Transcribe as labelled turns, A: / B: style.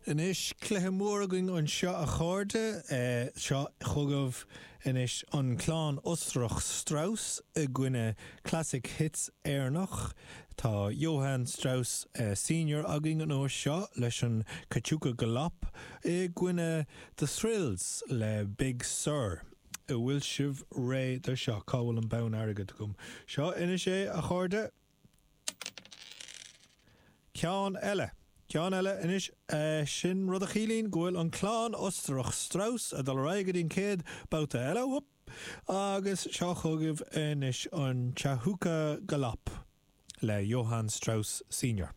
A: Anois, cluiche mór againn anseo a chairde. Seo chugaibh anois an clann Ostarach Strauss i gcoinne Classic Hits Éireannach. Tá Johann Strauss Senior againn an uair seo leis an Cachuca Galop i gcoinne The Thrills le Big Sur. An bhfuil sibh réidh do seo? Cá bhfuil an bonn airgid agam? Seo anois é, a chairde. Ceann eile. Ceann eile anois. Sin rud a chiallaíonn go bhfuil an clann Ostarach Strauss ag dul ar aghaidh go dtí an chéad babhta eile. Whoop! Agus seo chugaibh anois an Chachuca Galop le Johann Strauss Senior.